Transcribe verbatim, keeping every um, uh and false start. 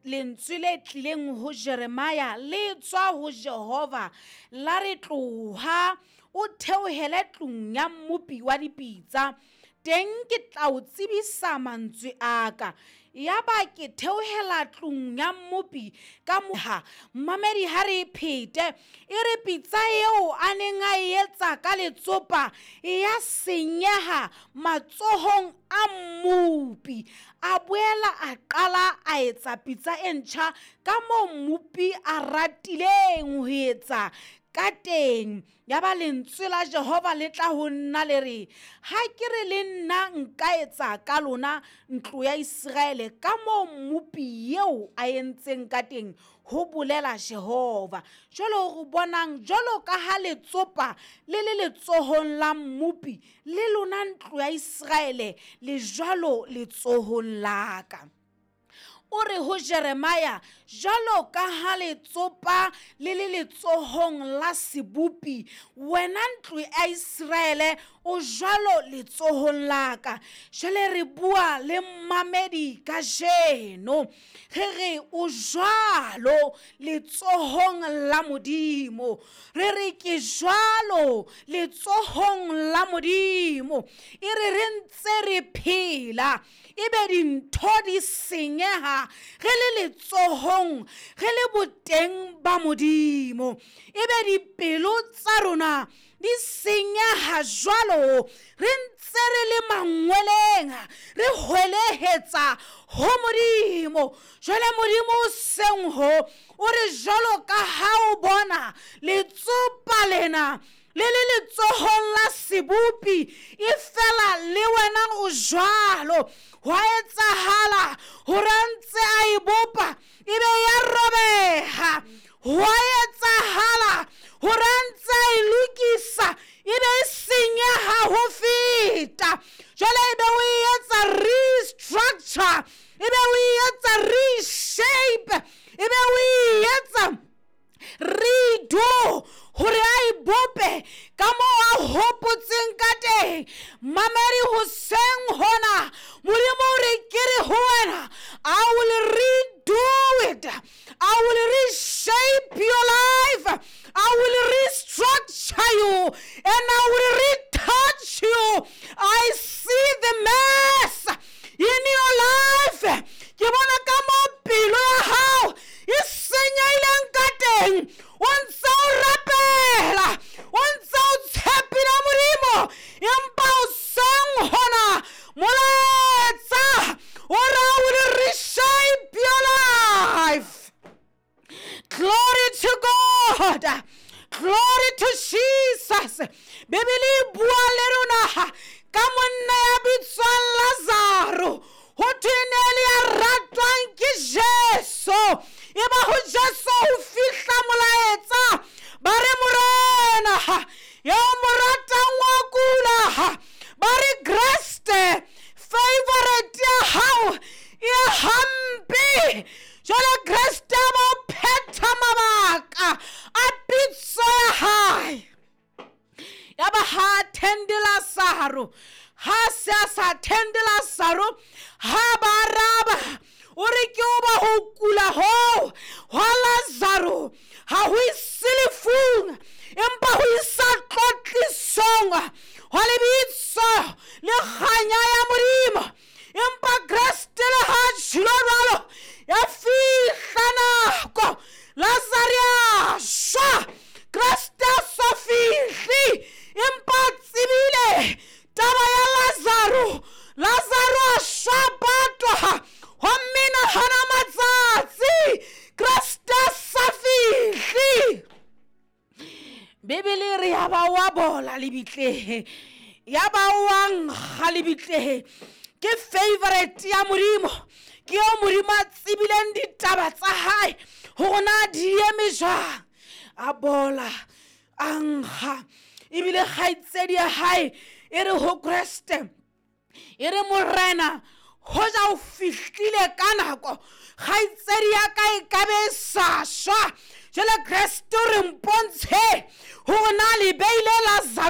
Lentswe le tlileng ho Jeremia le tswa ho Jehova la re tloha o theohele tlung ya mmopi wa dipitsa, teng ke tla o tsebisa mantswe a ka. Yaba ke theohela tlung ya mmopi ka moha. Mmamedi ha re phete e re pitsa eo a neng a etsa ka letsopa ya senyeha matsohong a mmopi. A boela a qala a etsa pitsa e ntjha ka moo mmopi a ratileng ho etsa ka teng. Yaba lentswe la Jehova le tla ho nna le re, ha ke re le nna nka etsa ka lona ntlo ya Iseraele ka moo mmopi eo a entseng ka teng, ho bolela Jehova. Jwale re bonang jwalo ka ha letsopa le le letsohong la mmopi, le lona ntlo ya Iseraele le jwalo letsohong la ka. O re ho Jeremia, jwalo ka ha letsopa le le letsohong la sebopi, wena ntlo ya Iseraele o jwalo letsohong la ka. Jwale re bua le mmamedi kajeno, re re o jwalo letsohong la Modimo. Re re ke jwalo letsohong la Modimo. E re re ntse re phela, ebe dintho di senyeha re le letsohong, re le boteng ba Modimo. Ebe dipelo tsa rona di senyeha jwalo, re ntse re le mangweleng, re hwelehetsa ho Modimo. Jwale Modimo o seng ho, o re jwalo ka ha o bona letsopa lena le le letsohong la sebopi, e fela le wena o jwalo. Hwa etsahala hore a ntse a e bopa ebe ya robeha. Hwa etsahala hore a ntse a e lokisa ebe e senyeha ho feta. Jwale ebe o e etsa restructure, ebe o e etsa reshape, ebe o e etsa redo hore a e bope ka moo a hopotseng ka teng. Mamedi hoseng hona, Modimo o re ke re ho wena, I will redo it, I will reshape your life, I will restructure you, and I will retouch you. I see the mess in your life. Ke bona ka moo pelo ya hao e senyehileng ka teng. O ntse o rapela, o ntse o tshepile Modimo, empa hoseng hona molaetsa o re I will reshape your life. Glory to God, glory to Jesus. Bibele e bua le rona ka monna ya bitswang Lazaro. Ho thwe e ne le ya ratwang ke Jesu. Eba ho Jesu ho fihla molaetsa, ba re Morena ya mo ratang wa kula. Ba re Kreste favorite ya hao e hampe. Jwale Kreste a ba phetha mabaka a pitso ya hae. Yaba ha attende Lazaro, ha se a sa attende Lazaro, ha ba araba o re ke o ba ho kula hoo hwa Lazaro ha ho ise lefung, empa ho isa tlotlisong hwa lebitso le kganya ya Modimo. Empa Kreste le ha tjhilo jwalo, ya fihla nako Lazaro a shwa. Kreste a sa fihle, empa a tsebile taba ya Lazaro. Lazaro a shwa patwa, homme nahana matsatsi Kreste a sa fihle. Bibele e re ya ba wa bola lebitleng, ya ba wa nkga lebitleng. Ke favorite ya Modimo, ke eo Modimo a tsebileng ditaba tsa hae hore na di eme jwang. A bola, a nkga, ebile kgaitsedi ya hae e re ho Kreste, e re Morena, hoja o fihlile ka nako, kgaitsedi ya ka e ka be e sa shwa. Jwale Kreste o re mpontshe hore na le beile Lazaro